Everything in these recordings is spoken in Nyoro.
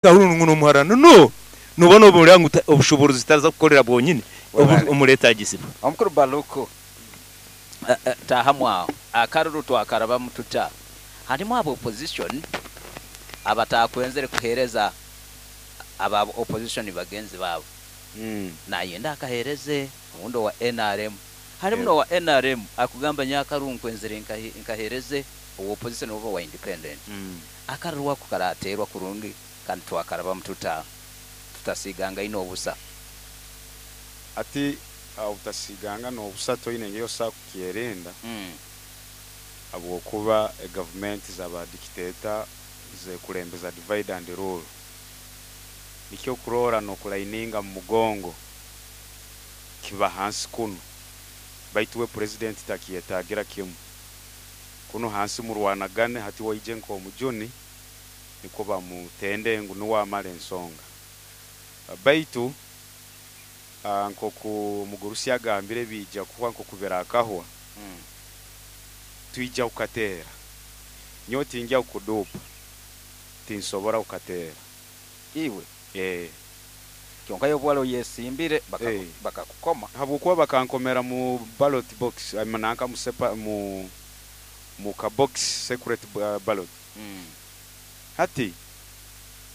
Kahururu ngu n'omuharano no noba noburira ngu obushoboorozi taraza kukorera bwonyini omuretaagisibwa. Omukuru Baluku, Taahamu aho. Akaruru twakarabamu tuta? Harimu aba opposition abataakwenzire kuheereza aba opposition bagenzi baabo. Nayenda akaheereze obundi owa nrm. Harimu n'owa nrm akugamba nyowe akaruru nkwenzire nkaheereze owa opposition oba owa independent. Akaruru ako karaateerwa kurungi kandi twakarabamu tuta tutasiigangaine obusa? Hati obutasiigangana obusa toine engeri osobola kukyerinda habwokuba egavumenti za ba dictator zekulembeza divide and rule. Nikyo okuroora n'okulaininga mu mugongo kiba hansi kunu baitu we purezidenti takyetaagira kimu. Kunu hansi murwanagane hati waije nk'omujuni nikwo bamutende ngu nuwe amara ensonga. Baitu nk'oku omugurusi agambire biija kuhwa nk'oku birakahwa, twija kukateera. Nyowe tingya kukuduupa, tinsobora kukateera. Iwe? Kyonka iwe obu wali oyesimbire bakakukoma. Habwokuba bakankomera mu ballot box, nanka mu ka box secret ballot. Hati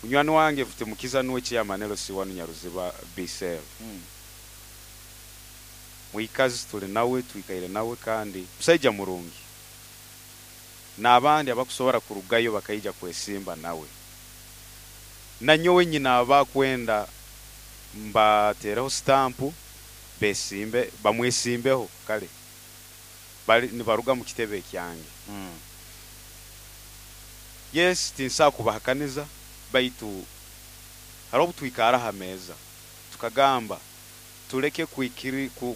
munywani wange Mfitimukiza nuwe chairman LC1 Nyaruziba B cell. Mwikazi tuli nawe, twikaire nawe kandi musaija murungi. N'abandi abakusobora kurugayo bakaija kwesimba nawe. Nanyowe nyine abakwenda mbateereho sitampu besimbe, bamwesimbeho kale bali nibaruga mu kitebe ekyange. Yes, tinsobola kubahakaniza baitu haroho obu twikara ha meeza tukagamba tuleke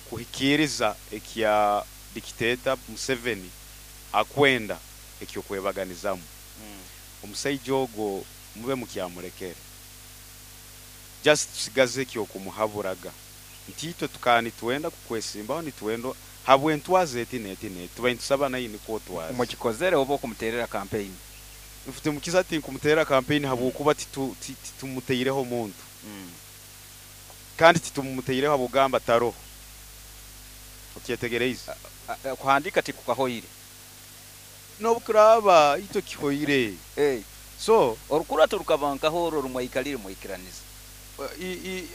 kuhikiiriza ekya dictator Museveni akwenda eky'okwebaganizamu. Omusaija ogwo mube mukyamulekere. Just tusigaze eky'okumuhaburaga nti itwe tukaba nitwenda kukwesimbaho nitwenda habw'entwaza eti n'eti n'eti tubaire nitusaba naiwe nikwo otwaze. Mukikozere oba okumuteerera kampeyini? Mfitimukiza tinkumuteerera kampeyini habwokuba titumutaireho muntu. Kandi titumutaireho habw'okugamba taroho. Okyetegereize? Kuhandiika tikukahoire. N'obu kiraaba itwe kihoire. So. Orukurato rukaba nkaha oru oru mwaikalire mwaikiraniza?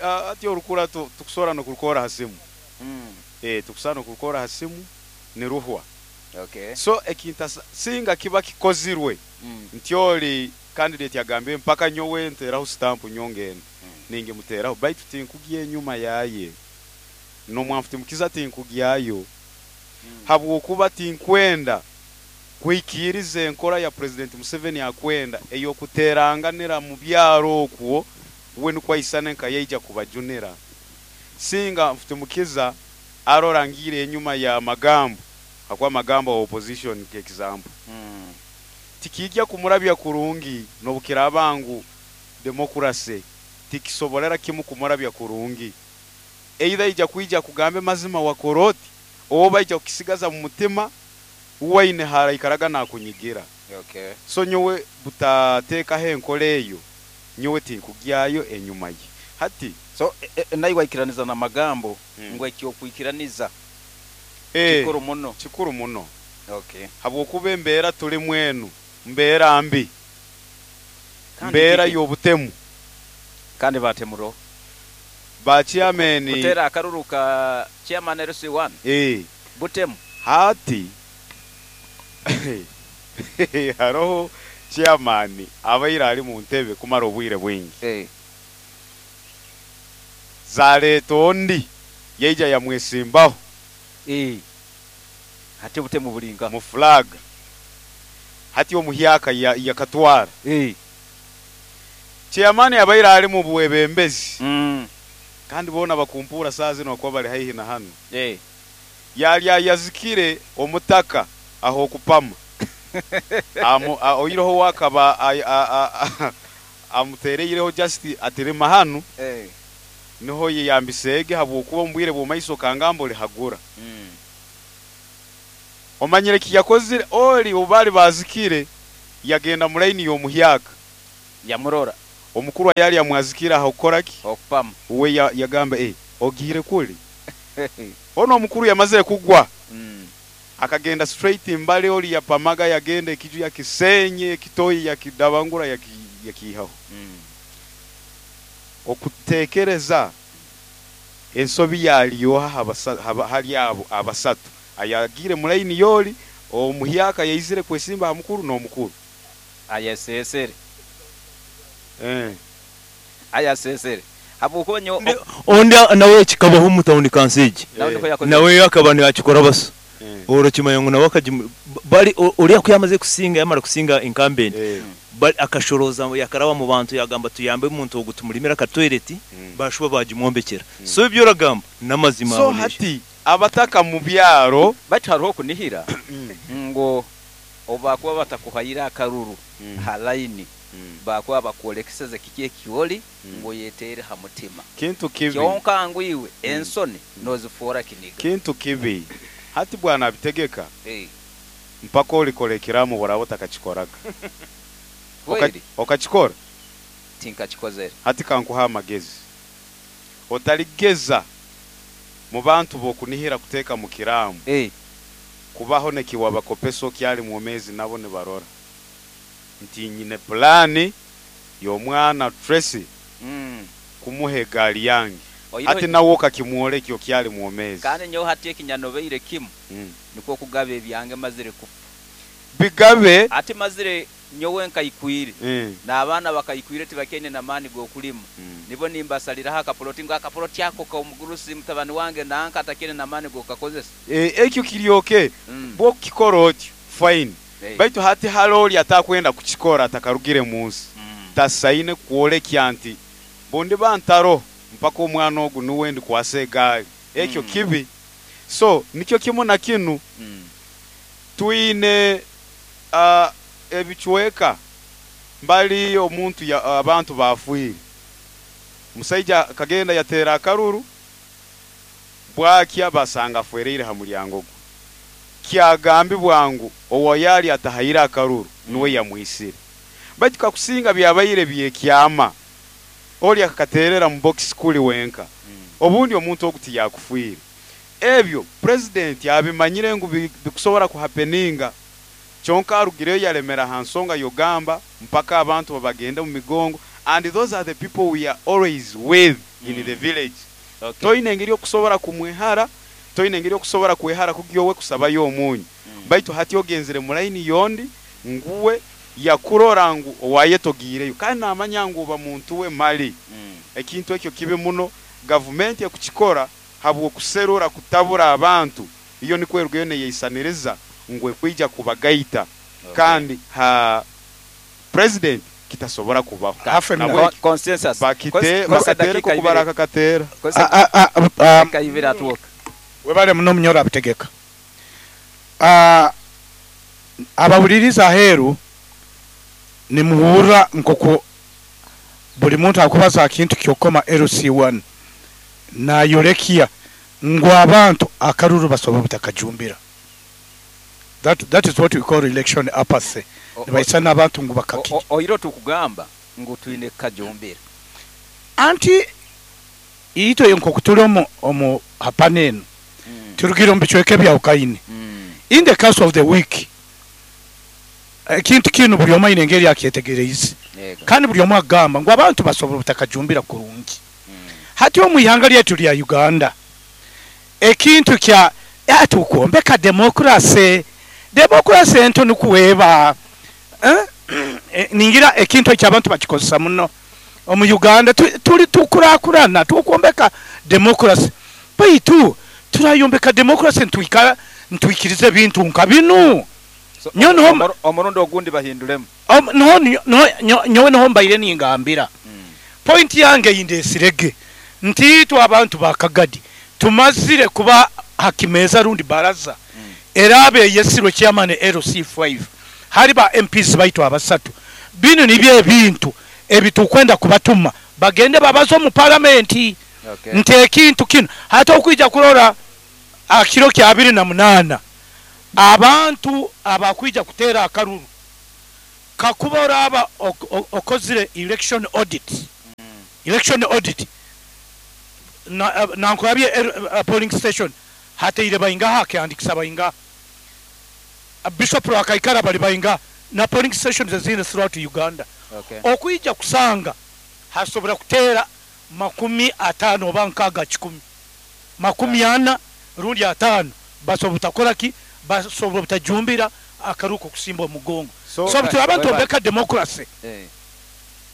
Hati orukurato tukusobora n'okurukoora ha simu. Tukusobora n'okurukoora ha simu niruhwa. So ekintasa singa kiba kikozirwe nti oli candidate agambire mpaka nyowe nteraho stamp nyowe ngenda, ningimuteraho baitu tinkugya enyuma yaye. N'omwanfutimukiza tinkugyayo habwokuba tinkwenda kuhikiiriza enkora ya President Museveni akwenda ey'okuteeranganira mu byaro okwo we nukwo aisane nka yaija kubajunira. Singa Mfutimukiza arora ngiire enyuma ya Magambo, hakuba Magambo wa opposition nk'example, tikiija kumurabya kurungi n'obukiraaba ngu democracy tikisoborera kimu kumurabya kurungi. Either aija kwija akugambe mazima wakora oti oba aija kukisigaza mu mutima uwe aine haraikaraga nakunyigira. So nyowe butateekaho enkora eyo, nyowe tinkugyayo enyuma ye. Hati. So naiwe aikiraniza na Magambo ngu eky'okwikiraniza kikuru muno? Kikuru muno. Habwokuba embeera tulimu enu mbeera mbi, mbeera y'obutemu. Kandi batemuroho. Ba chairman. Kuteera akaruru ka chairman LC1 butemu. Hati haroho chairman abaire ali mu ntebe kumara obwire bwingi. Zaleeta ondi yaija yamwesimbaho. Hati obutemu buri nkaha? Mu flag. Hati omuhyaka yakatwara. Chairman abaire ali mu bwebembezi kandi boona bakumpuura saaha zinu ahakuba bari haihi na hanu. Yali ayazikire omutaka ah'okupama. Oihireho we akaba amutereireho just ati rima hanu niho oyeyambiseege habwokuba omu bwire bw'omumaiso okangamba olihagura. Omanyire eki yakozire? Oli obu baali baazikire, yagenda mu laini y'omuhyaka. Yamurora. Omukuru yali amwazikira aho kukoraki? Okupama. Uwe yagamba ogiire kuli. Ono omukuru yamazire kugwa. Akagenda straight mbale oli yapamaga yagenda ekiju yakisenye ekitoyi yakidabangura yakihaho. Okutekereza ensobi yaliyo hali abo abasatu ayagire mulaini yoli omuhyaka yaizire kwesimba ha mukuru n'omukuru ayasesere. Ayasesere habwokuba nyo ondi nawe kikabaho mu town council nawe akaba yakikora basa orokimanya ngo nawe bali ori akuyamaze kusinga yamara kusinga incumbent bali akashoroza yakaraba mu bantu yagamba tuyambe umuntu ogutumulimira ka toilet bashuba bagimwombekera. So ibyo ragamba namazima. So hati abataka mu byaro batariho kunihira ngo obakuba batakuhaira akaruru ha line bakuba bakwolekeseza kiki ekioli ngo yetere ha mutima kintu kibi kyonka ngwiwe ensoni nozifora kiniga kintu kibi. Hati bwana abitegeka mpaka olikolekeramu borabo takakikoraga. Okakikora tinkakikozere. Hati kankuha amagezi otaligeza mu bantu bokunihira kuteka mu kiramu kubaho nekiwabakopeso kyali mwomezi nabo ne barora nti nyine plani y'omwana Tracy kumuhe egali yange. Ati nawo kakimwole kyo kyali mwomezi. Kandi nyo hati ekinyanobeire kimu niko kugaba ebyange mazire kufa bigabe ati mazire nyowe nkaikwire n'abaana bakaikwire tibakene namani gokulima nibo nimbasalira akapoloti ngo akapoloti ako ka omugurusi mutabani wange nanka atakene namani gokakozesa. Ekyo kiryoke bwo kikora otyo fine. Baitu hati haloli atakwenda kukikora atakarugire munsi tasaine kwolekya nti bondi bantaro mpaka omwana ogu nuwe ndi kwasa egali ekyo kibi. So nikyo kimu na kinu twine ebichweka mbali omuntu abantu bafuire. Musaija kagenda yatera akaruru bwakya basanga afwereire ha mulyango gwe. Kyagambi bwangu owo yali atahaira akaruru nuwe yamwisire. Baitu kakusinga byabaire byekyama oli akakaterera mu box kuli wenka obundi omuntu oguti yakufuire. Ebyo president yabimanyire ngu bikusobora kuhapeninga kyonka arugireyo yalemera ha nsonga yogamba mpaka abantu babagenda mu migongo, and those are the people we are always with in the village. Toine engeri okusobora kumwehara, toine engeri okusobora kwehara kugyowe kusabayo omunyu. Baitu hati ogenzere mu line yondi nguwe yakurora ngu owayetogireyo kandi namanya ngu oba muntu we mali. Ekintu ekyo kibe muno gavumenti ekukikora habwo kuserura kutabura abantu iyo nikwerugeyo neyisaniriza ngwe kwija kubagaita. Kandi ha president kitasobora kubaho consensus bakite bakatere kubaraka katera webale muno munyora abitegeka. Abawuliriza aheeru nimuhurra nkoko buli muntu akubaza kintu kyokoma LC1 nayolekia ngu abantu akaruru basobola butakajumbira. That is what we call election apathy. Nibaisana abantu ngu bakaki. Oiro tukugamba ngu twine kajumbira. Anti ito nko kutuli omu hapaneno. Turugire omu bicweka bya ukaine. In the course of the week ekintu kino buli omu aine engeri akyetegereize. Kandi buli omu agamba ngu abantu basobola butakajumbira kurungi. Hati omu ihanga lyetu lya Uganda ekintu kya atukuombeka demokrasi demokrasi ento nukuweba ningira ekintu ekyabantu bakikozesa muno omu Uganda tuli tukurakurana tukuombeka demokrasi baitu turayombeka demokrasi ntwikara ntwikirize bintu nka binu. So, omurundo ogundi bahindulemu nyowe noho mbaire ningambira. Point yange indesirege nti abantu bakagadi tumazire kuba hakimeza rundi baraza erabe yesirwe chairman LC5 hari ba MPs baitu abasatu binu nibye ebintu ebitukwenda kubatuma bagende babazo mu parliament. Nti ekintu kino hata okuija kurora akiro kya 28 abantu abakwija kutera akaruru Kakuba oraba okozire election audit, election audit nankurabye polling station hateire baingaha, akeandikisa baingaha, Bishop Rwakaikara bali baingaha, na polling stations ezindi throughout Uganda. Okwija kusanga hasobora kuteera 50 oba 60 100 40 rundi 50 basobora butakora ki, basobora butajumbira akaruko kusimba omugongo. So abantu beka democracy.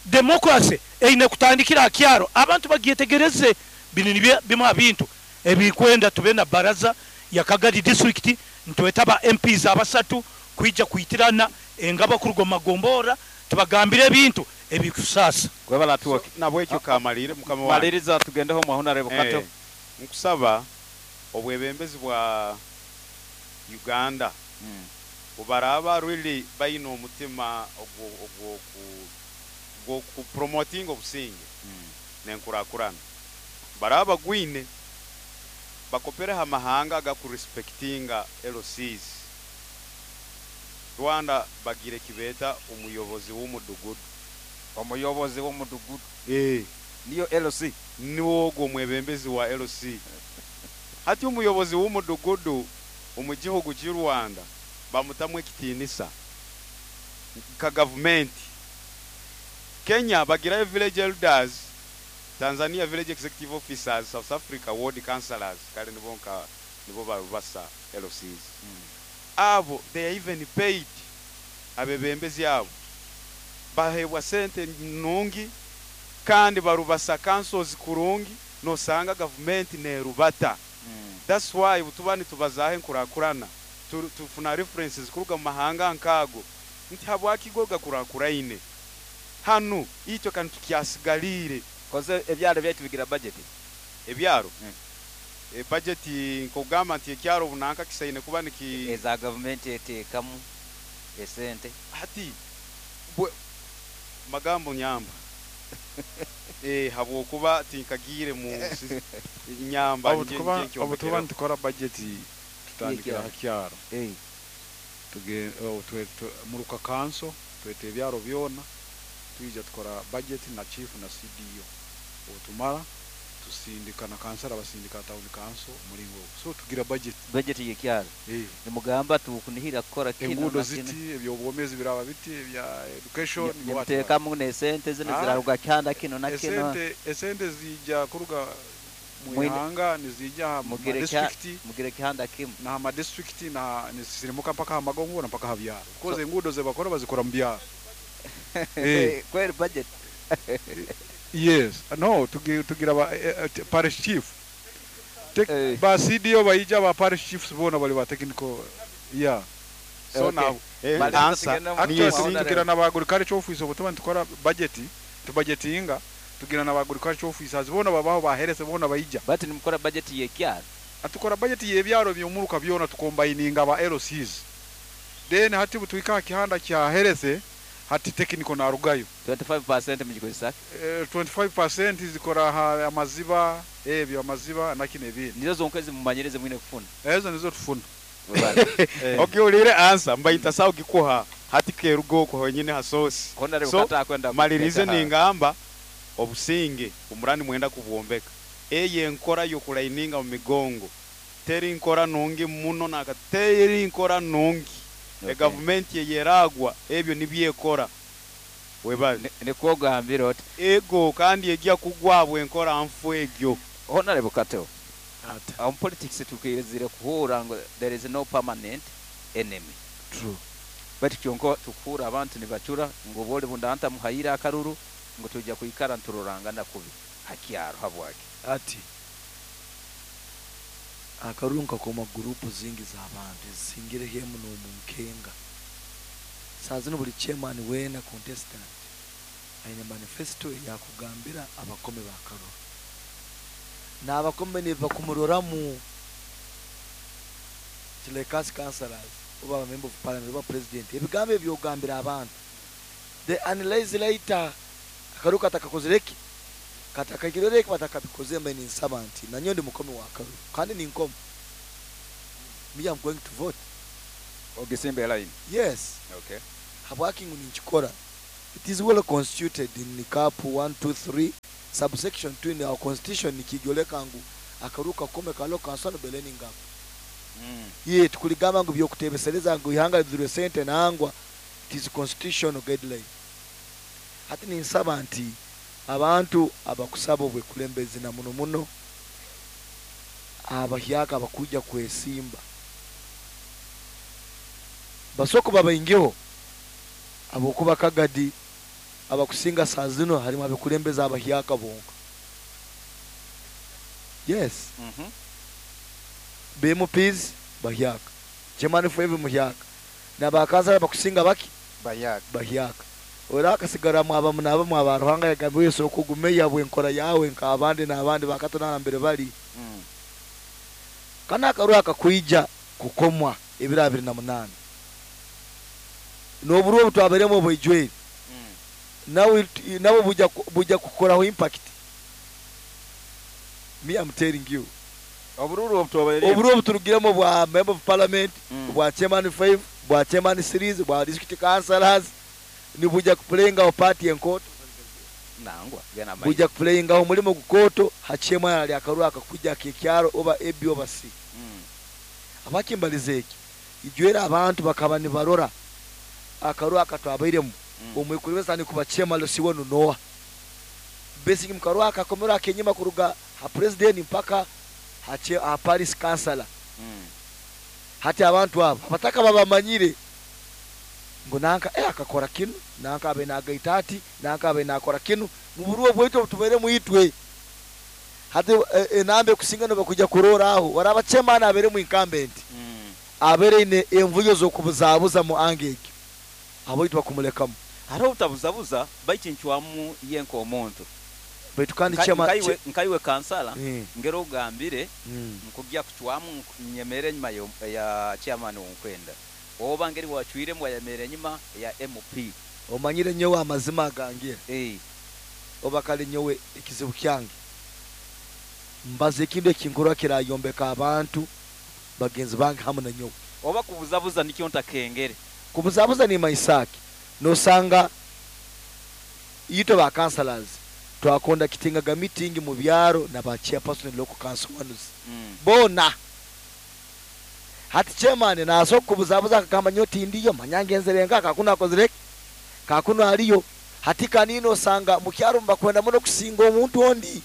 Democracy eine kutandikira akyaro abantu bagyetegereze bino bimwe bintu ebikwenda tube na baraza ya Kagadi district ntwetaba MPs abasatu kwija kuitirana engaba kurugo magombora tubagambire ebintu ebikusasa. Gwebala tuwa nabwekyo kamalire mukama wange maliriza tugendeho mwahuna kato. Nkusaba obwebembezi bwa Uganda ubaraba really bayina omutima ogwo ku promoting obusinge nenkurakurana baraba gwine bakopere ha mahanga gakurespectinga LCs. Rwanda bagire kibeta umuyobozi w'umudugudu. Umuyobozi w'umudugudu niyo LC, niwo gwo mwebembezi wa LC. Hati umuyobozi w'umudugudu omugihugu cy'u Rwanda bamutamwe kitinisa ka government. Kenya bagira village elders, Tanzania village executive officers, South Africa ward councillors, kale nibo nka nibo barubasa LCs. Abo they are even paid abebembezi abo bahebwa sente nungi kandi barubasa councils kurungi nosanga government nerubata. That's why butubani tubazahe nkurakurana tufuna references kuruga mu mahanga nkago nti habwakigoga kurakuraine hanu icyo kantu tukyasigalire koze ebyaro byaitu bigira budget ebyaro budget nkogamba nti ekyaro bunanka kisaine kuba niki eza government etekamu esente hati magambo nyamba habwokuba tinkagire mu nyamba obutuba ntukora budget tutandikira hakyaro tuge muruka kanso twete ebyaro byona tuija tukora budget na chief na CDO otumara tusindika na kansara basindika town council muringo so tugira budget yekyaro nimugamba tukunihira kukora kino engudo ziti ebyobwomezi biraba biti ebya education nimuteka mu ne sente zino ziraruga cyanda kino na kino esente zijja kuruga muhanga nizija mu district mugire kihanda kimu na ma district na nisirimuka mpaka hamagongo na mpaka habyaro koze engudo ze bakora bazikora mu byaro kweri budget. Yes, no, tugira ba parish chief. Ba CDO baija ba parish chiefs bona bali ba technical. Yeah. So okay. Now answer actually tugira na ba agriculture office obutuma tukora budget, tu budgetinga tugira na ba agriculture officers bona babaho baherese bona baija. But nimukora budget yekyaro. Atukora budget yebyaro byomuruka byona tukombininga ba LCs. Then hati butuika kihanda kya herese hati technical na rugayo 25% mugikozesa 25% zikora amaziba ebyo amaziba nakine ebindi nizo zonkwezi mumanyereze mwine kufuna ezo nizo tufuna. Okay, ulire answer mbaita sawo gikuha hati kerugo ko honyine hasosi so malirize ningamba obusinge umurani mwenda kubwombeka eye nkora yo kulaininga mu migongo teri nkora nungi muno nakateri nkora nungi. Okay. Government yeragwa ebyo nibyekora webale nikogambira oti ego kandi egiya kugwabwe enkora nfu egyo Honorable Kato. On politics tukizire kuhura ngo there is no permanent enemy. True. But kyonko tukura abantu nibacura ngo bole bundanta muhayira akaruru ngo tujya kuikara nturorangana kubi hakyaro habwake ati akaruru nkakoma group zingi z'abantu zisingire hemu no munkenga sazino buli chairman wena contestant aine manifesto yakugambira abakome bakaruru n'abakome ne bakumuroramu tilekasi councillors oba member of parliament oba president ebigambo ebyogambira abantu they analyze later akaruka katakakozereki katakakiroreki batakabikoze mbe ni nsaba nti nanyo ndi mukome wa akaruru kandi ni nkomo me I'm going to vote ogisimbe line. Yes. Okay. Habwaki ngu ninkikora? It is well constituted in cap 123 subsection 2 in our constitution, nikijoleka ngu akaruka kakome ka local council beleni ngapo. Ye tukuligamba ngu byokutebesereza ngu ihanga lidhurwe sente nangwa, it is constitutional guideline. Hati ninsaba nti abantu abakusaba obwekulembezi na muno muno abahyaka abakuja kwesimba basoko babaingeho abokuba kagadi abakusinga saa zino harimu abekulembeza abahyaka bonka. Yes. BMPs bahyaka, Chairman 5 muhyaka, nabakaza abakusinga baki bahyaka bahyaka. Ora akasigara mwaba munaba mwaba Ruhanga yagambiwe Yesu okugumeya bwenkora yawe nk'abandi n'abandi bakatona mbere bali. Kana akaru akakwija kukomwa ebiro 28 n'oburu obutwaberemo obwijwere nawe nabo buja kukoraho impact. Me I'm telling you, obururu obutwaberemo obururu obuturugiremo bwa member of parliament, bwa chairman 5, bwa chairman series, bwa district councillors, ni buja kuplayinga o party enkoto nangwa gena mai buja kuplayinga omulimo gukoto hachema ali akaru akakuja kekyaro oba AB oba C. Abakimbalize eki ijwera abantu bakaba nibarora akaru akatwabairemu omwekulebeza ni kubachema losiwo noa basic mkaru akakomera kenyima kuruga ha president mpaka hache ha Paris councilor. Hati abantu abo abataka babamanyire ngo nanka akakora kinu, nanka abe nagaitati, nanka abe nakora kinu muburuo bwetu tubere muitwe. Hati enambe kusinga no bakuja kurora aho waraba chairman abere mu incumbent abere ine envuyo zo kubuzabuza mu angege abo itwa kumulekamu haro utabuzabuza bayikinchwamu yenko omuntu baitu kandi chairman nkaiwe kansala ngero ugambire nkujya kuchwamu nyemere nyuma ya chairman wonkwenda oba ngeri wachwire mu yamere nyuma ya MP. Omanyire nyowe amazima gange oba kale nyowe ekizibu kyange mbaze ekintu ekinkora kirayombeka abantu bagenzi bange hamwe na nyowe. Oba kubuzabuza nikyo ntakengere kubuzabuza ni maisaki nosanga yito ba councillors twakonda kitingaga meeting mu byaro na ba chairperson local council ones bona hati chairman naso kubuzabuza akagamba nyoti ndiyo manyangenzerenga kakuna akozireke kakuno aliyo hati kanino sanga mu kyaro mbakwenda muno kusinga omuntu ondi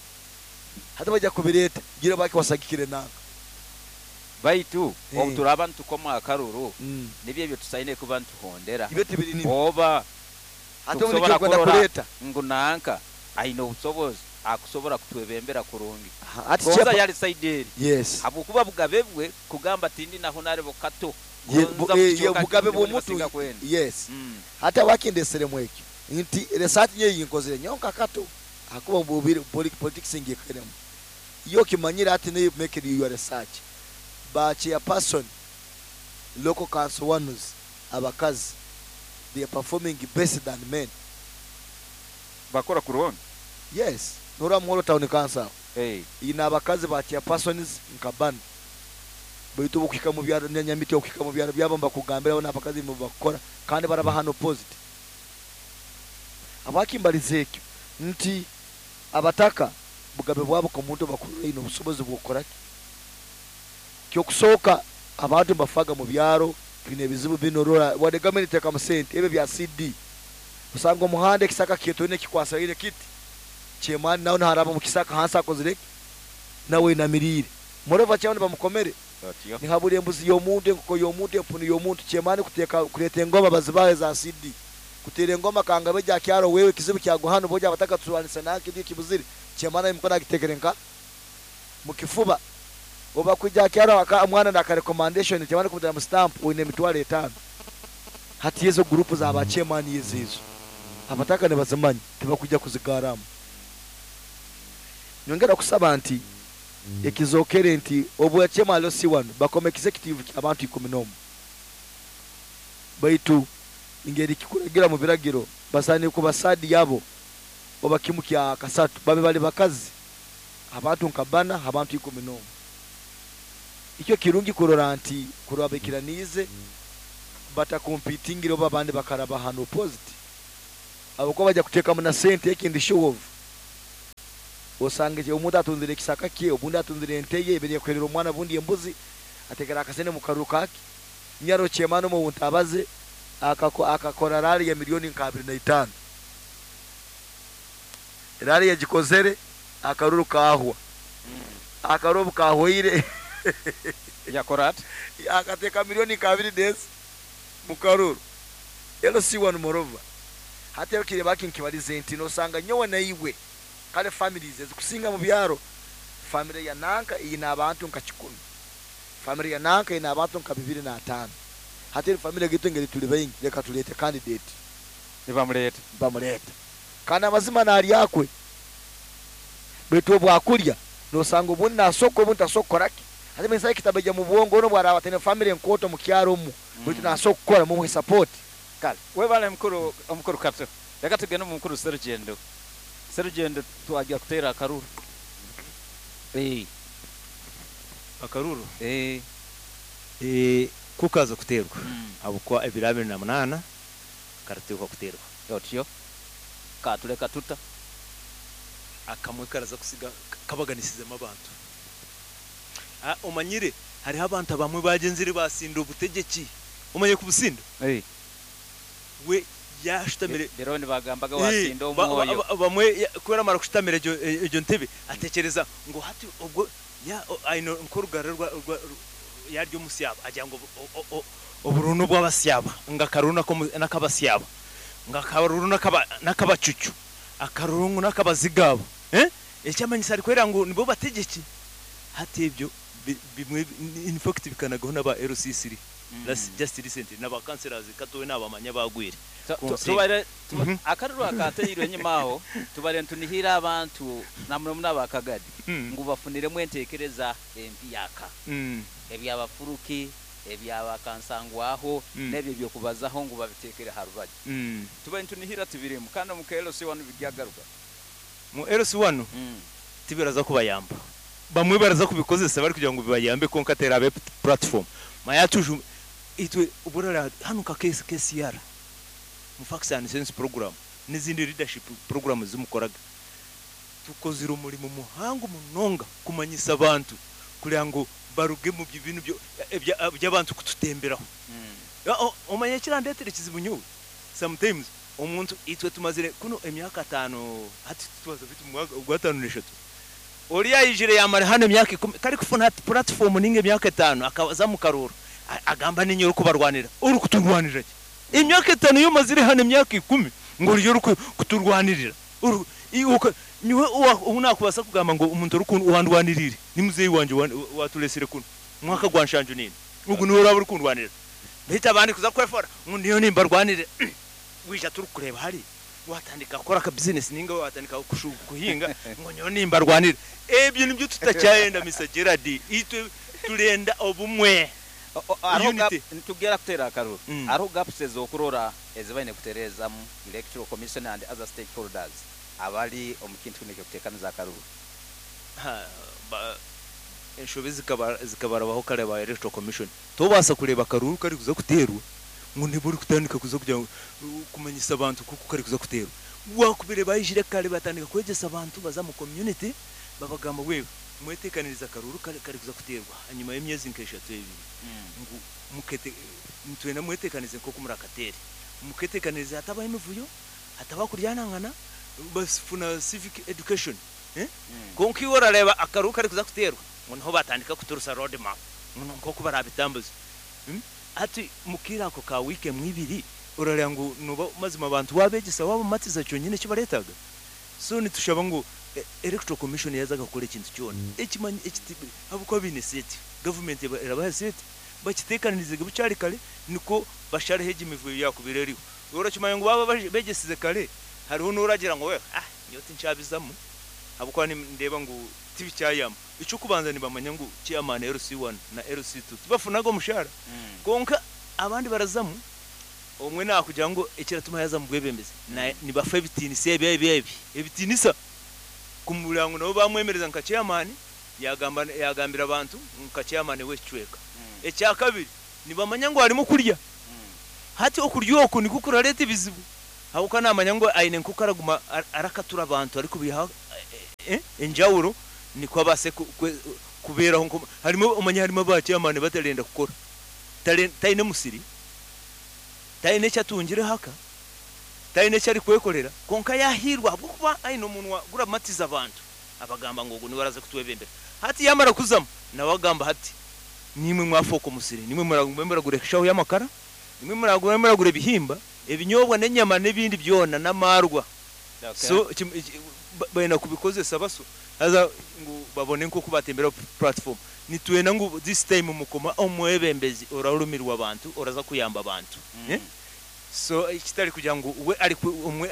hati bajya kubireta gira baki wasagikire nanga baitu obuturaba ntukoma akaruru nibyo byo tusaine kuba ntuhondera ibyo tibiri ni oba hati omuntu kwenda kuleta ngunanka aino obusobozi akusobora kutwebembera kurungi ati chepa yali side. Yes, abukuba bugabebwe kugamba tindi naho narebo kato bugabe bw'omuntu. Yes, hata wakindesere mwekyo nti research nye yinkozere nyonka kato akuba bubiri politics ngikeremo iyo kimanyira ati ne make your research ba chairperson local council ones abakazi they are performing best than men bakora kurungi. Yes, nora muhoro town council ina abakazi ba chairpersons nkabana baitu bukika mu byaro nyamiti okika mu byaro byabo mbakugambira bona abakazi mu bakora kandi barabahano opposite. Abakimbalize ekyo nti abataka bugabe bwabo ku muntu bakurira ino obusobozi bwokora kyo kusoka abantu mbafaga mu byaro bine bizibu binorora wade government teka mu sente ebe bya CD usanga omuhanda ekisaka kietone kikwasa ile kiti chairman nawe haraba mu kisaka hansa akozire nawe inamirire morova chairman bamukomere ni haburi embuzi yomuntu enkuko yomuntu empunu yomuntu chairman kuteka kuleta engoma bazibaye za CD kutera engoma kangabe ja kyaro wewe kizibu kyaguhano boja abataka tuwanisa naki ndi kibuzire chairman imukona gitekerenka mukifuba oba kujja kyaro aka mwana na recommendation chairman kumutera mu stamp uine mitwale 5 hati yezo group za ba chairman yezizo abataka ne bazimanyi tebakujja kuzigaramu. Nyongera kusaba nti ekizokere nti obwa chairman lo si wano bakome executive abantu 11 baitu ingeri kikuragira mu biragiro basani ku basadi yabo oba kimu kya kasatu babe bali bakazi abantu nkabana abantu 11 icyo kirungi kurora nti kurabikiranize Batakompitingire oba abandi bakaraba hano opposite, abakuba bajya kuteekamu na sente. Ekindi, show off, osanga omuntu atunzire ekisaka kye, obundi atunzire ente ye ebere kuherera omwana, bundi embuzi, ategera akasente mu karuru kake. Nyaro kyemano mu ntabaze akakora rally ya miliyoni nka 25. Rally yagikozere, akaruru kahwa. Akaruru kahwaire, yakora ati akateka miliyoni nka abiri dezi mu karuru LC1. Moreover, hati kire baki nkibalize nti nosanga nyowe naiwe kale families ezikusinga mu byaro, family ya nanka ina abantu nka 100, family ya nanka ina abantu nka 25. Hati eri family gitu ngeri tuli baingi, reka tulete candidate. Nibamuleta. Bamuleta, kandi amazima nalyakwe, baitu obwakulya nosanga obundi nasoko, obundi tasokoraki. Hati mensai kitabeja mu bwongo ono bwaraba tene family enkoto mu kyaro omu, baitu nasoka kukora, mumuhe support. Kale, webale mukuru, omukuru Kato. Reka tugende mu mukuru Serugendo. Serugendo, twajya kutera akaruru. Akaruru? Eh. Kukaza kuterwa abukwa ebiro 28 karateekwa kuterwa. Otyo katuleka tuta? Akamwe karaza kusiga kabaganisizemu abantu. Omanyire hariho abantu abamwe bagenzire basinda obutegeki, omanye kubusinda. We yashutamire. Rero nibagambaga wasinda omwoyo. Bamwe kubera amara kushutamira egyo ntebe, atekereza ngo hati obwo ya aino nkorugara rwa yaryo musyaba, agira ngo oburunu bw'abasyaba, nga karuru n'akabasyaba, nga karuru n'akabacucu, akaruru n'akabazigabo, ekyamanyisa ari kwera ngo nibo bategeki. Hati ebyo bimwe in fact bikanagaho n'aba LC3 just recently n'aba councillors katowe n'abamanya bagwire. Tubare akaruru akateirwe enyuma aho, tubare ntunihira abantu namuno n'abakagadi ngu bafuniremu entekereza empyaka, ebyabafuruki, ebyabakansangwaho, n'ebyo byokubazaho ngu babitekere ha rubaju. Tubaire ntunihira tibirimu, kandi omu LC1 biryagaruka. Mu LC1 tibiraza kubayamba. Bamwe baraza kubikozesa bari kugira ngo bibayambe, konka terabe platform mayatuju itwe uburara hano ka case KCR mu Facts and Sense program n'izindi leadership program zimukoraga, tukozira umurimo muhango munonga kumanyisa abantu kugira ngo baruge mu bintu by'abantu kututemberaho. Omanye kirandetera ekizibu nyowe sometimes omuntu itwe tumazire kuno emyaka 5, hati tubaza bitu mu gwa 53, oriya yijire yamara hano emyaka 10, kari kufuna platform ninge emyaka 5, akaza mu karuru agamba ninyo kubarwanira. Uri kuturwanirira ki emyaka 5 yo mazire hano emyaka 10 ngo uri kuturwanirira? Uri niwe unakubasa kugamba ngo umuntu uri wandwanirire ni muzeyi wanje waturesire kuno mwaka gwa nshanju nini, ugu niwe uraba uri kundwanirira. Ndahita abandi kuza kwefora ngo niyo nimbarwanire, wija turi kureba hari watandika gukora ka business ninga watandika kuhinga ngo nyo nimbarwanire. Ebyo nibyo tutacyayenda, Mr Gerard. Itwe turenda obumwe. Unity. Tugera kutera akaruru, hariho gaps ezokurora ezibaine kuterezamu Electoral Commission and other stakeholders abali omu kintu kino ekyokuteekaniza akaruru. Ha, enshobe zikabarabaho kare ba Electoral Commission. Tobasa kureba akaruru kari kuza kuterwa ngo ntiburi kutandika kuza kugira ngo kumanyisa abantu kuko kari kuza kuterwa. Wakubire bayijire kare, batandika kwegesa abantu baza mu community, babagamba wewe mwetekaniriza akaruru kari kuza kuterwa hanyuma y'emyezi nk'eshatu ebiri, ngu mukete ntwena mwetekanize nko kumurakatere, muketekaniriza hatabaho emivuyo, hatabaho kuryanangana, basifuna civic education. Konka iwe orareba akaruru kari kuza kuterwa ngo niho batandika kuturusa road map ngo nko barabitambuza. Ati mukira ako ka week mwibiri urareba ngo nuba mazima abantu wabegesa wabamatiza cyonyine kibaretaga. So nitushaba ngo Electoral Commission yazaga gukora ikintu cyona ekimanyi ekiti abuko bine set government erabaha set bakitekanirize bucyari kare, niko bashareho imivuyo yakubireriho. Urakimanya ngo baba begesize kare, hariho n'uragira ngo we nyoti ncabizamo abuko ni ndeba ngo tibicyayama. Icyo kubanza nibamanya ngo chairman LC1 na LC2 tibafunago mushara, konka abandi barazamu omwe nakugira ngo ekiratuma yaza mu bwebembezi nibafa ebitinisa ebi ebi ebi ebitinisa kumurango, nabo bamwemereza nka chairman, yagamba yagambira abantu nka chairman w'ekicweka. Ekya kabiri nibamanya ngo harimo kurya. Hati okurya oku nikwo kuraleeta ebizibu, habwokuba naamanya ngu aine nk'oku araguma arakatura abantu arikubiihaho enjawulo nikwo abaase kubeeraho nko harimu omanye harimu aba chairman batarenda kukora, taine musiri, taine eki atungireho aka, taine eki arikwekorera, kwonka yaahiirwa ahabw'okuba aine omunwa guramatiza abantu, abagamba ngu ogu niwe araza kutwebembera. Hati yaamara kuzamu, nawe agamba hati niimwe mwafooka omusiri, niimwe muragume muragura eshaho y'amakara, nimwe muragume muragura ebihimba, ebinyobwa n'enyama n'ebindi byona n'amaarwa. So baine kubikozesa baso haza ngu babone nk'oku batembera platform. Nitwenda ngu this time mukoma omwebembezi orarumirwa abantu, oraza kuyamba abantu. So kitari kugira ngu we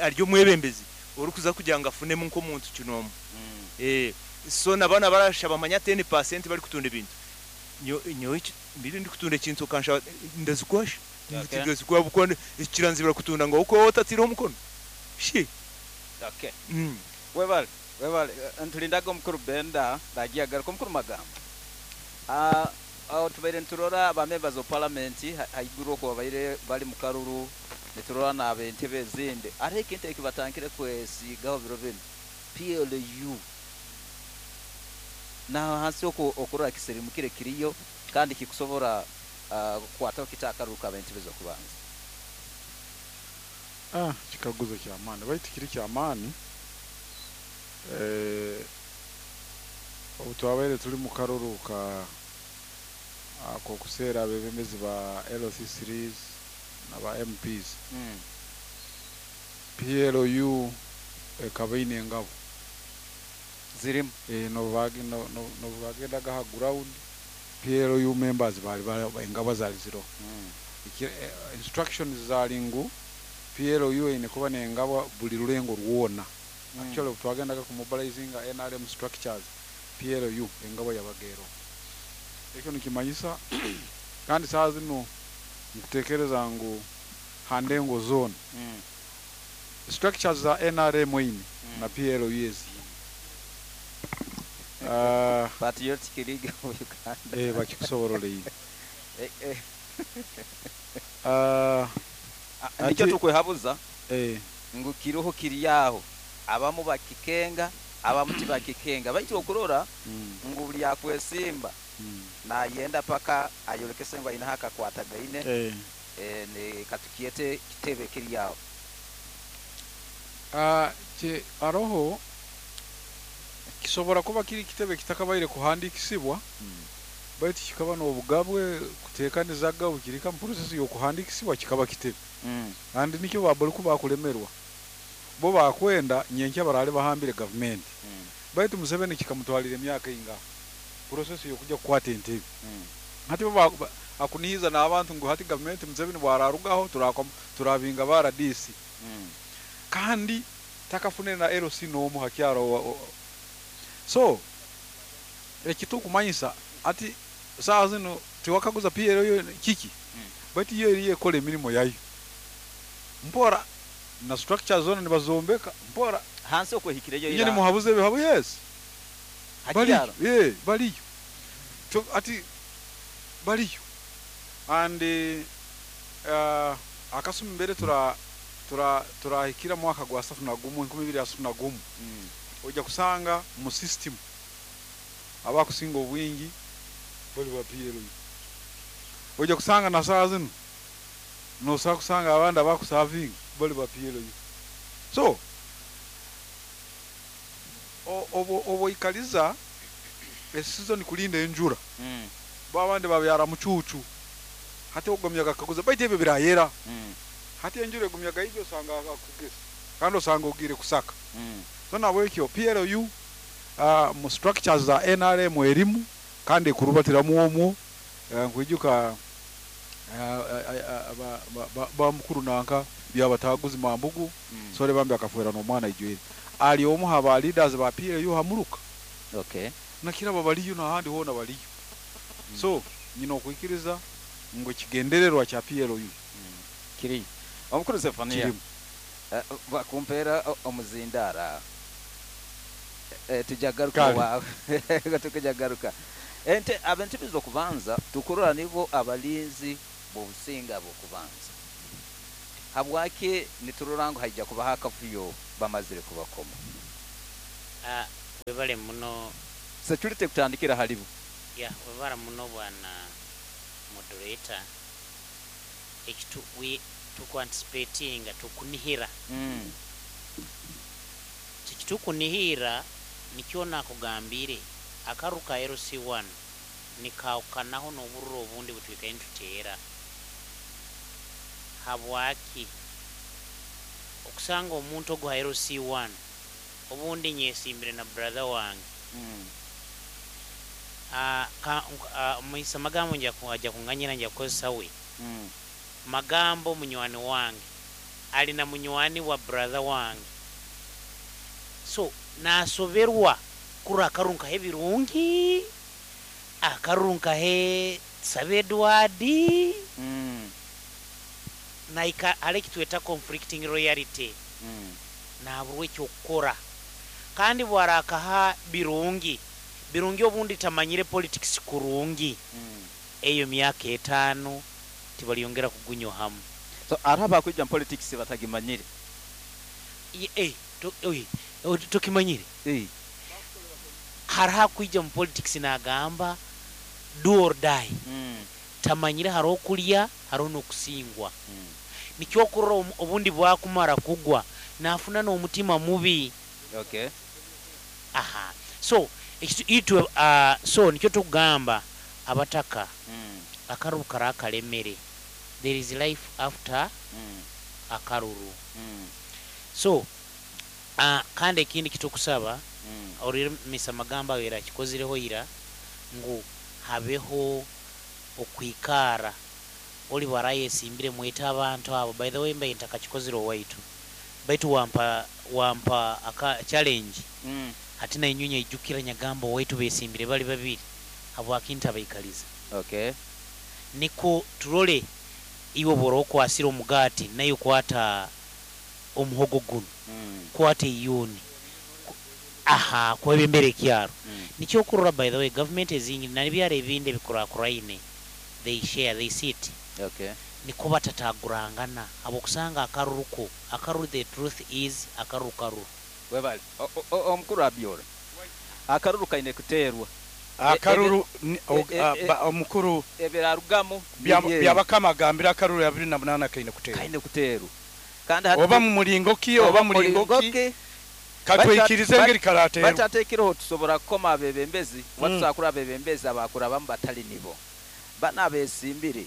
ari omwebembezi orikuza kugira ngu afunemu nk'omuntu kinoomu. So na banu abarashaba manya 10% barikutunda ebintu. Nyowe mbire ndikutunda ekintu okanshaba ndazikwasha. Ndazikuha ahabw'okuba kiranzibira kutunda ngu ahabw'okuba otataireho omukono. Shi. Okay. Webale, webale. Ntulindaga omukuru Benda nagiye agaruka omukuru Magamba. Aho tubaire niturora ba members of parliament haiguru okwo babaire bari mu karuru, niturora n'ab'entebe ezindi. Hariho ekintu eki batandikire kwesiigaho biro binu, PLU. Naho hansi okwo okurora kisirimukire kiriyo kandi kikusobora kukwataho kita akaruru k'ab'entebe z'okubanza? Kikaguzo ky'amaani, baitu kiri ky'amaani. Obu twabaire turi mu karuru ka k'okuseera abebembezi ba LC3s na ba MPs, PLU ekaba eine engabo zirimu. N'obu bagendaga ha ground, PLU members bari engabo zari ziroho. Instructions zari ngu PLU eine kuba n'engabo buli rulengo rwona. Actually obu twagendaga kumobilizinga NRM structures, PLU engabo yabaga eroho. Ekyo nikimanyisa kandi saaha zinu nkutekereza ngu ha ndengo zoona structures za NRM eine na PLU eziine. Patriotic League of Uganda. Bakikusoborora ine. Nikyo tukwehabuza ngu kiroho kiri aho, abamu bakikenga, abamu tibakikenga, baitu okurora ngu buli akwesimba nayenda paka ayolekese ngu aine akakwatagaine katukyete kitebe kiri aho. Aroho kisobora kuba kiri kitebe kitakabaire kuhandikisibwa, baitu kikaba n'obugabwe kuteekanizaga bukirika mu process y'okuhandikisibwa kikaba kitebe. Kandi nikyo babuli kuba bakulemerwa, bo bakwenda nyenkya barale bahambire gavumenti. Baitu Museveni kikamutwalira emyaka ingaha process y'okujya kukwata entebe. Hati bo akunihiza n'abantu ngu hati gavumenti Museveni bwararugaho turabinga ba RDC. Kandi takafunire na LC n'omu hakyaro. So ekitukumanyisa ati saa zino tiwakaguza PLU kiki, baitu yo eriyo ekola emirimo yayo mpora na structure zona nibazombeka mpora. Hansi okwehikireyo Inye nimuhabuze ebihabu, yes. Hakyaro. Baliyo, baliyo. Ati baliyo. And akasumi mbere turahikira mwaka gwa 31, 2031. Ojja kusanga mu system abakusinga obwingi bali ba PLU. Ojja kusanga na saa zino nosobola kusanga abandi abakusavinga bali ba PLU. So obo ikaliza esizoni kulinda enjura, bo abandi babyara mucucu, hati ogumyaga kaguza baitu ebyo birayera. Hati enjura egumyaga ijyo osanga akugesa kandi osanga ogire kusaka. So nabwekyo PLU mu structures za NRM erimu kandi ekurubatiramu omwo. Nkwijuka ba mukuru nanka byabataguzi Mambugu, sore bambi akafuera n'omwana ijwere ali omu haba leaders ba PLU hamuruka. Nakiraba baliyo n'ahandi hoona baliyo. So nyina okwikiriza ngu ekigendererwa kya PLU Kiri omukuru Zefania kirimu. Bakumpeera omuzindara, tujagaruka. Kale. Wawe tukujagaruka ente abentebe z'okubanza tukurora nibo abalinzi b'obusinga bw'okubanza. Habwaki niturora ngu haija kubaho akavuyo bamazire kubakoma? Webale muno. Security kutandikira halibo. Ya, webale muno bwana moderator. Ekitu we tukuanticipatinga tukunihira. Kitukunihira nikyo nakugambire akaruka LC1 nikaukanaho n'obururo obundi butwikaye nituteera. Habwaki okusanga omuntu ogu ha LC1 obundi nyesimbire na brother wange. Muisa magambo nja kunganyira nja kukozesa we. Magambo munywani wange alina munywani wa brother wange, so nasoberwa kura akarunka he birungi akarunka he Sabe Edward. Naika ale kitweta conflicting royalty. Naburwe kyokukora kandi bwarakaha birungi birungi obundi tamanyire politics kurungi. Eyo myaka 5 tibaliyongera kugunyo hamu. So araba kujja politics batagimanyire. Tukimanyire. Haraha kujja mu politics nagamba do or die. Tamanyire haro kulya haro nokusingwa. Nikyo kurora obundi bwakumara kugwa nafuna n'omutima mubi. Okay. Aha. So itwe so nikyo tugamba abataka. Akaruru karakalemere. There is life after akaruru. So kandi ekindi kitukusaba orire misa magamba wera kikozireho ira ngu habeho okwikara oli baraye simbire mweta abantu abo. By the way mbaye ntakakikozire owaitu baitu wampa aka challenge. Ati na inyunya ijukira nyagamba owaitu besimbire bali babiri habwakinta baikaliza. Okay. Niko turole iwe boroko asira omugati nayo kwata omuhogo guno. Kwata iyoni. Aha, kwebembere kyaro. Nikyo kurora by the way government ezingi na byare ebinde bikura kuraine. They share, they sit. Okay. Niko batatagurangana abo kusanga akaruruko. Akaruru, the truth is akaruru karuru. Webale omukuru abyora. Akaruru kaine kuterwa. Akaruru omukuru ebirarugamo byabakama gambira akaruru ya 28 kaine kuterwa. Kaine kuterwa. Kandi oba mu mulingo ki oba mulingo ki katwikirize ngeri karaterwa. Batatekireho tusobora kukoma abebembezi, watusakura abebembezi abakura bamu batali nibo. Bana besimbire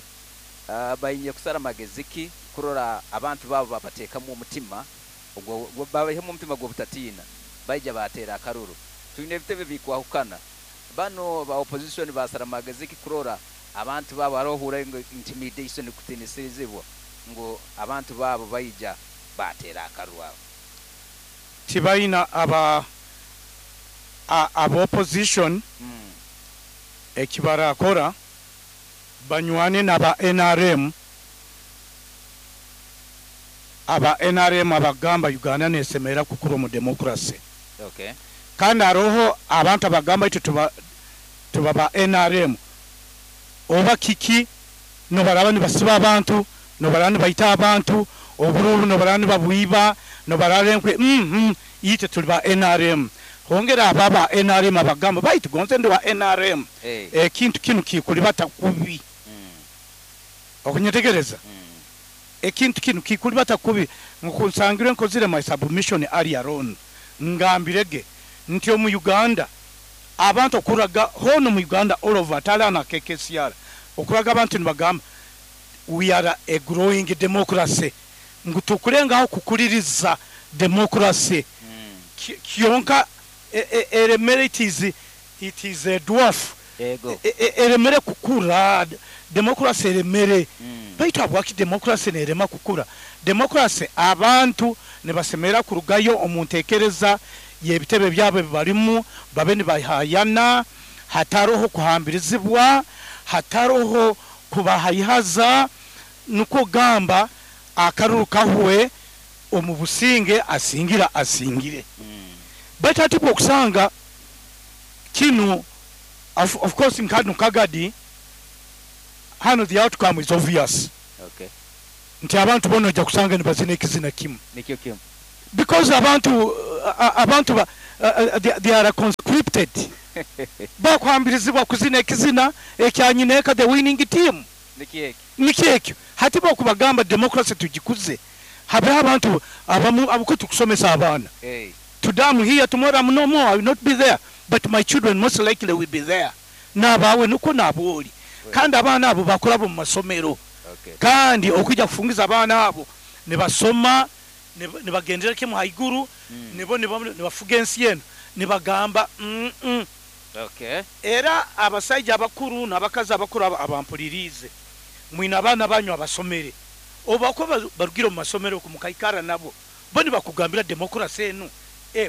bayinye kusara mageziki kurora abantu babo babatekamu omutima ogwo babahemu omutima gwo butatina baija batera akaruru. Tuine ebitebe bikwahukana. Bano ba opposition basara mageziki kurora abantu babo arohura intimidation kutinisizibwa ngo abantu babo baija batera akaruru abo. Tibaina aba opposition ekibara akora banywane naba NRM. Aba NRM abagamba Uganda nesemera kukura mu democracy. Okay. Kandi aroho abantu abagamba itu tuba ba NRM oba kiki no baraba nibasiba abantu no baraba nibaita abantu obururu no baraba nibabwiba no bararenkwe ite tuli ba NRM. Hongera ababa NRM abagamba baitu gonze ndi wa NRM. Hey. Ekintu kinu kikulibata kubi. Okunyetegereza. Ekintu kinu kikulibata kubi nkunsangire nkozire my submission earlier on. Ngambirege nti mu Uganda abantu okuraga hono mu Uganda all over talana KKCR okuraga abantu nibagamba we are a growing democracy. Ngutukurengaho kukuliriza democracy. Kionka eremere it is a dwarf. Ego. Eremere kukura democracy eremere. Baitu abwaki democracy nerema kukura. Democracy abantu nebasemera kurugayo omuntekereza yebitebe byabo barimu babe nibahayana hataroho kuhambirizibwa hataroho kubahayihaza nuko gamba akaruru kahwe omubusinge asingira asingire. Baitu ati okusanga kinu of course nkadu kagadi hano the outcome is obvious. Okay. Nti abantu bona ojja kusanga nibazina ekizina kimu. Nikyo kimu. Because abantu ba, they are conscripted. Bakwambirizibwa kuzina ekizina ekyanyineka the winning team. Nikyo ekyo. Nikyo ekyo. Hati bokubagamba democracy tugikuze. Habe abantu abamu abuko tukusomesa abaana. Hey. Today I'm here, tomorrow I'm no more, I will not be there. But my children most likely will be there. N'abaawe nuko n'abooli. Kandi abaana abo bakora mu masomero. Okay. Kandi okujja kufungiza abaana abo ne basoma ne bagendera kimu haiguru, nibo ne bafuga ensi eno ne bagamba Okay. Era abasajja abakuru n'abakazi abakuru abampulirize mwina abaana banyu abasomere oba ko barugira mu masomero ku mukaikara nabo bo ne bakugambira democracy eno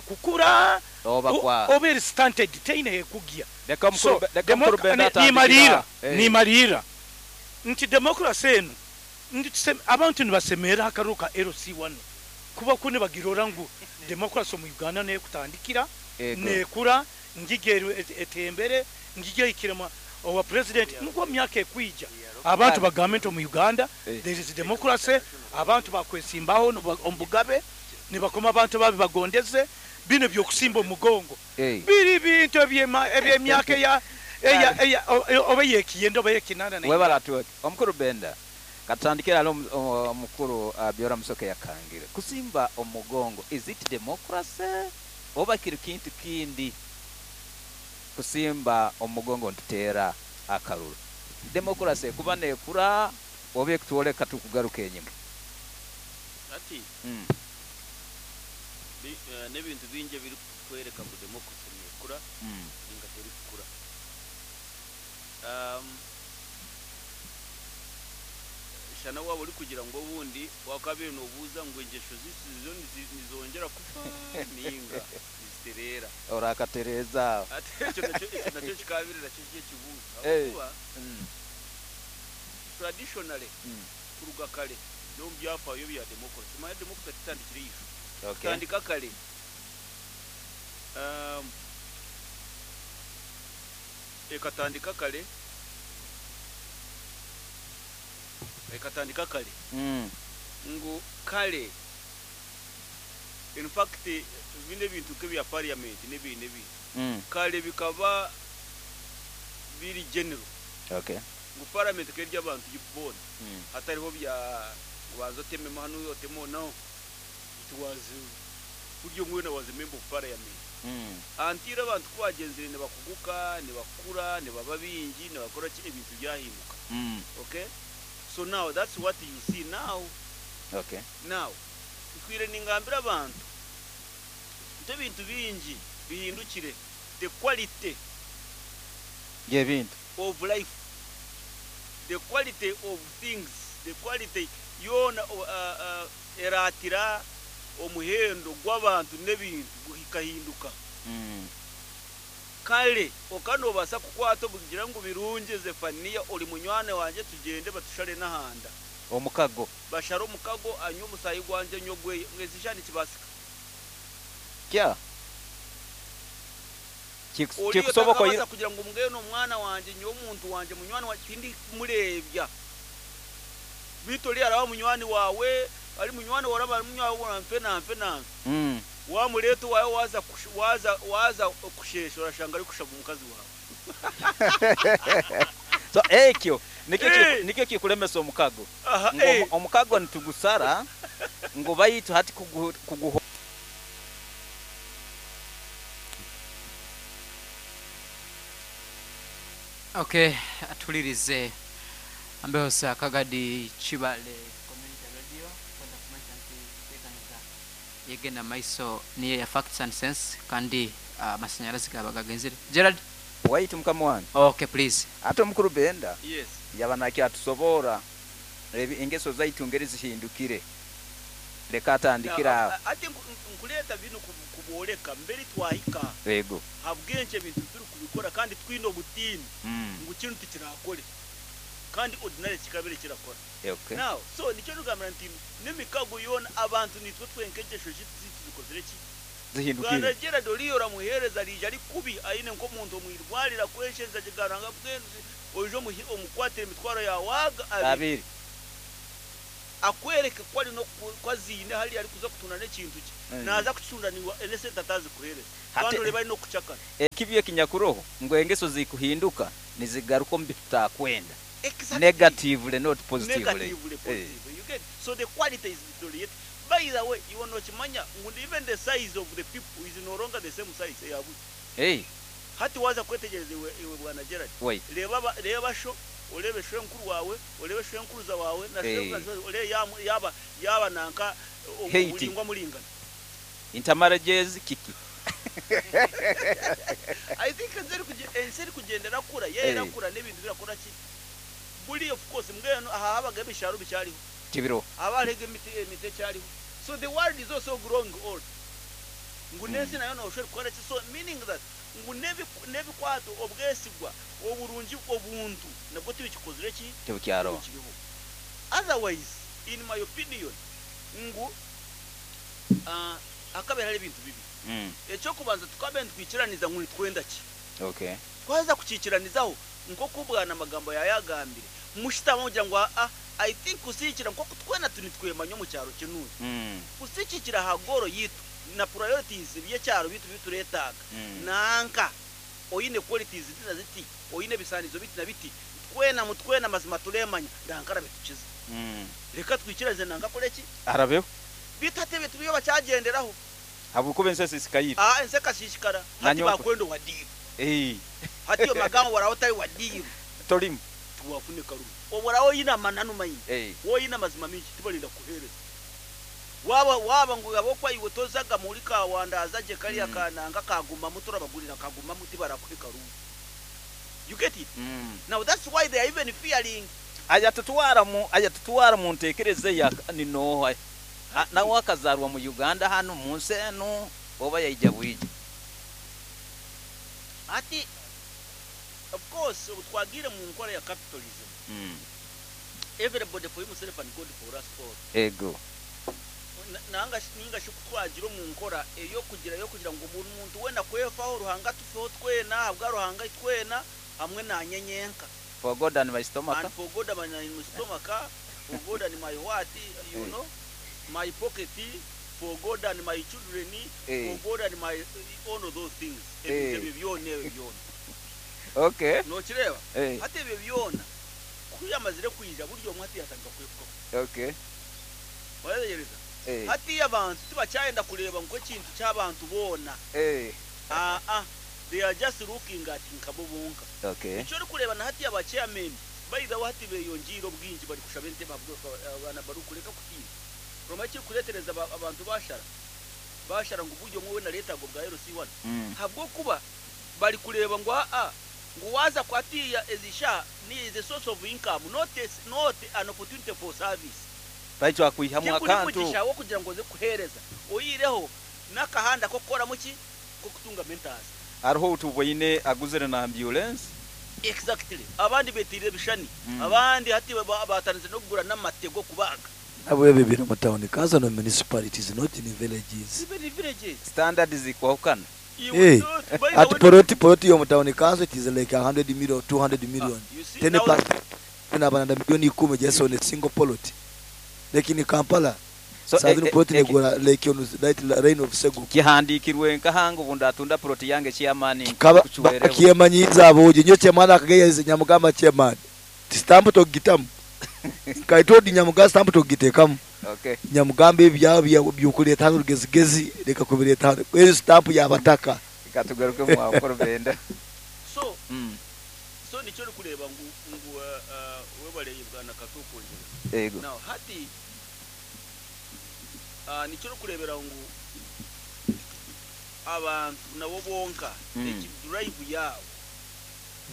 kukura oba kwa oba eri stunted teine ekugia leka mukuru leka mukuru benda nimalira nimalira nti democracy eno ndi abantu nibasemera akaruka LC1 kuba kune bagirora ngu democracy mu Uganda ne kutandikira nekura ngigero etembere ngige ikirema owa president nko myaka ekwija abantu bagambe mu Uganda there is democracy abantu bakwesimbaho ombugabe nibakoma abantu babi bagondeze bino byokusimba omugongo biri bintu ebyemyaka ya oba yekiyendo oba yekinana na webala tu omukuru Benda katandikira alo omukuru Byora Musoke yakangire kusimba omugongo is it democracy oba kiri kintu kindi kusimba omugongo ntutera akaruru democracy kuba nekura oba ekutwoleka tukugaruka enyuma ati n'ebintu bingi biri kwereka ngu democracy nekura ninga teri kukura shana waba uri kugira ngo ubundi wakabiri nobuza ngo ingesho zisizo nizongera kufa ninga niziterera orakatereza ati ekyo nakyo kikabiri nakyo kiye kibuza kuba traditionally kuruga kare no byafaayo bya democracy maya democracy tandikire yisho okay. Tandika kare ekatandika kare ekatandika kare ngu kare in fact bine bintu kebya parliament nebi nebi kare bikaba biri general okay ngu parliament kerya abantu yibona hatariho bya bazo temema hano yotemo no it was buryo mwena was a member of parliament antira abantu kubagenzire ne bakuguka ne bakura ne baba bingi ne bakora ebintu byahinduka okay. So now that's what you see now. Okay. Now, kwire ningambira abantu nte bintu bingi bihindukire the quality y'ebintu of life, the quality of things, the quality yona eratira omuhendo gw'abantu n'ebintu guhikahinduka. Kale okano basa kukwata bugira ngo birunge Zefania uri munywane wanje tugende batushare nahanda omukago bashara omukago anyu musayi gwanje nyogwe mwezishani kibasika kya kikusoboka yira kugira ngo mbweno mwana wanje nyo muntu wanje munywane wa tindi murebya bitori arawa munywani wawe ari munywani waraba munywani wa mfe na mfe na wa muleto wawe waza waza kushesha urashanga ari kushaba umukazi wawe so ekyo nikyo kikulemesa omukago omukago ntugusara ngo bayitu hati kuguho okay atulirize ambeho akagadi Kibale community radio kwenda kumanya nti tekaniza yegenda maiso niye ya facts and sense kandi amasanyalazi gaba gagenzire Gerald waitu mukama wange okay please ate omukuru Benda yes yaba atusobora engeso zaitu ngeri zihindukire leka atandikira ate nkuleta bino kuboleka mbere twahika yego habwenche bintu turi kubikora kandi twino butini ngo kintu tikirakore kandi ordinary kikabere kirakora okay now so nicyo nugambira nti nemikago yona abantu nitwe twenkegesho zikozere ki zihindukire bwana Gerald Oliyo ramuhereza rije ari kubi aine nko muntu mwirwalira kweshenza kigaranga bwenzi ojo omukwatira emitwaro yawaga abiri Akwereke ku ari ku aziine hariya arikuza kutunda n'ekintu kye. Naaza kukitunda naiwe n'esente ataazikuheereza. Kandi oreebe ari n'okukucakara. Ekibi ekinyakuroho ngu engeso zikuhinduka nizigaruka omu bitutakwenda. Negatively not positively. Negatively positively. You get? So the quality is deteriorating. By the way, iwe nokimanya ngu even the size of the people is no longer the same size eya buri. Hati waaza kwetegyereza iwe iwe bwana Gerald, Wait. reeba aba reeba sho, oreebe shwenkuru waawe, oreebe shwenkuruza waawe na shwenkuruza oreebe yaaba yaaba yaaba nanka Height. oburingwa muringana. Intermarriages kiki? I think ensi erikugye ensi erikugyenda erakura, yo erakura n'ebintu birakora ki? Buri of course mbwenu aha habaga ebishaaru bikyariho. Tibiroho. Haba hariho emiti emiti ekyariho. So the world is also growing old. Ngu n'ensi nayo noshusha erikukora ki? So meaning that ngu n'ebikwato, obwesigwa, oburungi, obuntu nabwo tibikikozire ki? Tibukyaroho. Tibikiriho. Otherwise in my opinion ngu hakabaire hariho ebintu bibiri. Eky'okubanza tukabaire nitwikiraniza ngu nitwenda ki. Twaheza kukiikiranizaho nk'oku Bwana Magambo yaayagambire, mushutame mugira ngu aa, I think kusiikira nk'oku twena nitwemanya omu kyaro kinuya, kusiikikira aha goal yitu na priorities by'ekyaro bitu bituretaaga, nanka oine qualities ziti na ziti, oine ebisaanizo biti na biti, twena mutwena mazima turemanya, nanka arabitukiza. Reka twikiranize nanka akore ki? Arabeho. Beitu hati ebyo tibyo bakyagyenderaho. Habw'okuba ensi esiisikaire. Aa, ensi ekasiisikara. Hati bakwenda owa diiru. Hati iwe Magambo oraabe otari wa diiru. Torimu. Tiwaafuna ekaruru. Obu oraabe oine amananu maingi, waaba oine amazima maingi, tibarenda kukuheereza. Waaba waaba ngu ahabw'okuba iwe tozaga muri kawandaza gye kariya ka nanka ka gumamu torabagurira ka gumamu tibarakuha ekaruru. You get it? Now that's why they are even fearing. Ayatutwara mu ayatutwara mu ntekereza eya ni nooha? Nawe akazarwa mu Uganda hanu mu nsi enu oba yaija bwija? Hati of course obu twagiire mu nkora ya capitalism, everybody for himself and God for us all. Ego. Nanga shi ninga shi ku twagira omu nkora ey'okugira ey'okugira ngu buri muntu weena kwefaho, Ruhanga atufeho twena, ahabwa Ruhanga itwena hamwe naanye nyenka. For God and my stomach. And for God and my stomach, for God and my what, you know, my pocket, for God and my children, for God and my all of those things. Ebintu ebyo byona ebyo byona. Nokireeba? Hati ebyo byona ku yamazire kwija buri omwe hati yatandika kwefukaho. Wayetegyereza? Hatiiya abantu tibakyayenda kureeba ngu ekintu ky'abantu boona. Aa, they are just looking at nkabo bonka. Nikyo orikureeba na hatiiya ba chairmen by the way hati beyongyeire obwingi bari kushaba entebe ahabw'abaana barikureka kutiina. Omanya ekirikureetereza abantu bashara? Bashara ngu buri omwe weena areetaaga obwa LC1 ahabw'okuba bari kureeba ngu aa ngu waaza hatiiya ezi shaaha ni is a source of income not a, not an opportunity for service. Baitu akwihamu Tikuri akantu. mugisha w'okugira ngu oze kuheereza oihireho n'akahanda k'okukoramu ki? K'okutungamu entaasa. Hariho ou tuboine aguzire na ambyulensi. Exactly. Abandi beteire ebishushani, abandi hati batandikire n'okugura n'amate g'okubaaga. Nabwo ebyo biri omu town council no municipalities not in villages. Even in villages. Standard zikwahukana. Iwe Eh, not, by the ati way, poloti poloti y'omu town council it is like 100 million 200 million. You see, 10 now plus nabana milioni ikumi just on a single poloti. Like in Kampala So, sazino poloti negura like on right line of Segu. Kihandikirwe nkahanga obu ndatunda poloti yange chairman Kaba kuchwereho. bakyemanyiza aboje nyo chairman akageye nyamugamba chairman. Stamp togitamu. Nkaitodi nyamugamba stamp togitekamu. Nyamugamba ebyabo byokuleeta hano rugezigezi reka kubireeta hano. Eyo stamp yabataka. Katugaruke mu akoro benda. So, so nikyo orikureeba ngu ngu webale bwana Kato kwongyera. Ego. Now hati nikyo orikureebera ngu abantu nabo bonka eki drive yaabo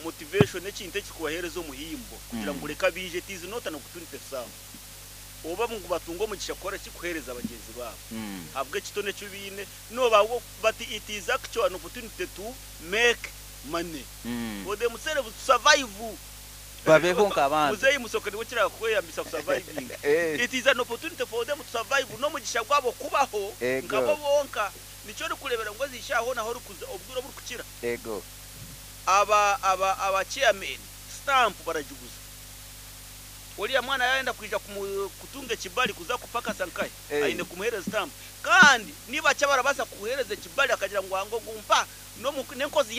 motivation ekintu ekikubaheereza omuhimbo kugira ngu reka biije it is not an opportunity some oba ngu batunge omugisha kukora ki kuheereza bagyenzi baabo ahabw'ekitone eki baine no but it is actually an opportunity to make money for themselves to survive. Babeho nk'abantu. Muzeeyi Musoke niwe kiraba kweyambisa ku surviving. It is an opportunity for them to survive n'omugisha gwabo kubaho nkabo bonka. Nikyo orikureebera ngu ezi shaaha hoona ahu orikuza obwire oburikukira. Aba aba aba chairman stamp baragiguza. Oriya mwana yayenda kwija kutunga ekibali kuza kupakasa nkahe, aine kumuhereza stamp. Kandi niba kyabarabaasa kuhereza ekibali akagira ngu wango gumpa n'enkozi.